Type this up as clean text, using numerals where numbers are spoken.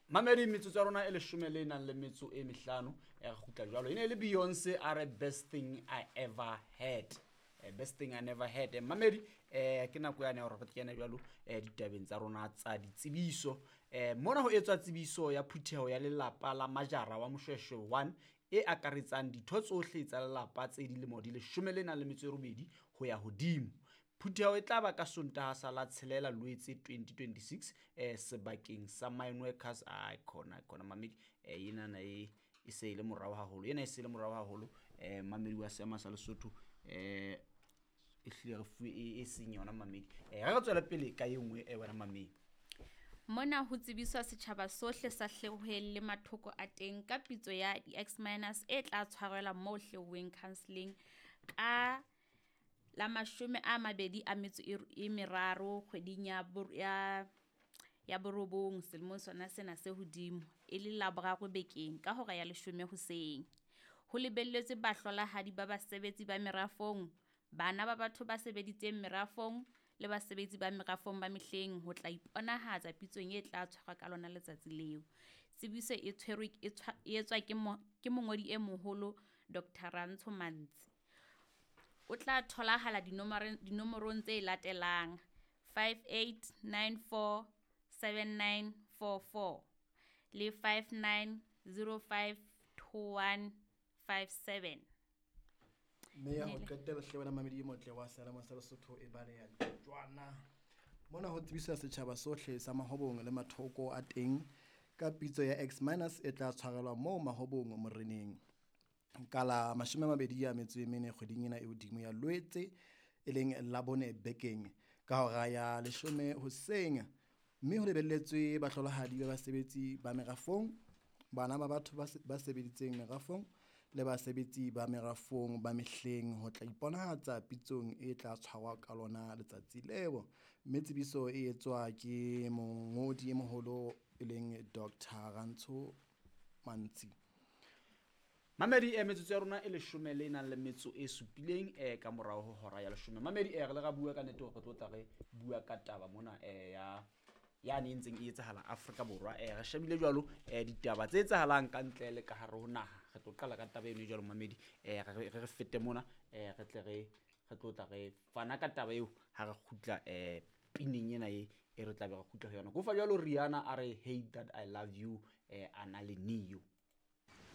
Mamedi, metsotso ya rona e leshome le nang le metso e mehlano, e re kgutla jwalo. E ne e le Beyonce a re "Best Thing I Ever Had". Best thing I never had. Mamedi, ke nako yane ya hore re kene jwalo ditabeng tsa rona tsa ditsebiso. Mona ho etswa tsebiso ya phutheho ya lelapa la Majara wa Moshweshwe 1 e akaretsang ditho tsohle tsa lelapa tse dilemo di leshome le nang le metso e robedi ho ya hodimo. Phutheho e tla ba ka Sontaha sa la 6 Loetse 2026, sebakeng sa Mine Workers. Ai khona khona, mamedi, enana e se e le morao haholo, ena e se e le morao haholo. Mamedi wa seema sa Lesotho, e hlile re fuwe e seng yona, mamedi. Re tswele pele ka e nngwe, wena mamedi. Mona ho tsebiswa setjhaba sohle sa Hleoheng le mathoko a teng ka pitso ya di-X-minus e tla tshwarelwa moo Hleoheng Counselling ka la 23 kgweding ya borobong selemong sona sena se hodimo, e le Laboraro bekeng ka hora ya 10 hoseng. Ho lebelletswe bahlolahadi ba basebetsi ba merafong, bana ba batho ba sebeditseng merafong le basebetsi ba merafong ba mehleng ho tla iponahatsa pitsong e tla tshwarwa ka lona letsatsi leo. Tsebiso e tshwerwe e etswa ke mongodi e moholo Dr. Rantsho Mantsi. O tla tholahala dinomorong tse latelang: 5894 7944 le 5905 2157. Mme ya ho qetela hle, wena mamedi e motle wa Sealemoya sa Lesotho, e baleha jwana. Mona ho tsebiswa setjhaba sohle sa Mahobong le mathoko a teng ka pitso ya X minus e tla tshwarelwa moo Mahobong Moreneng ka la 24 kgweding ena e hodimo ya Loetse, e leng Labone bekeng, ka hora ya 10 hoseng. Mme ho lebelletswe bahlolohadi ba basebetsi ba merafong, bana ba batho ba sebeditseng merafong le basebetsi ba merafong ba mehleng ho tla iponahatsa pitsong e tla tshwarwa ka lona letsatsi leo. Mme tsebiso e etswa ke mongodi e moholo e leng Dr. Rantsho Mantsi. Mamedi, metsotso ya rona e leshome le nang le metso e supileng ka morao ho hora ya 10. Mamedi, re le ra bua ka nnete hore re tlo tla re bua ka taba mona ya yane e ntseng e etsahala Afrika Borwa. Re shebile jwalo ditaba tse etsahalang ka ntle le ka hare ho naha. Re tlo qala ka taba eno e jwalo, mamedi. Re fete mona, re tle re tlo tla re fana ka taba eo ha re kgutla pineng ena e re tla be re kgutla ho yona. Kofa jwalo Rihanna a re "Hate That I Love You", a na le Neo.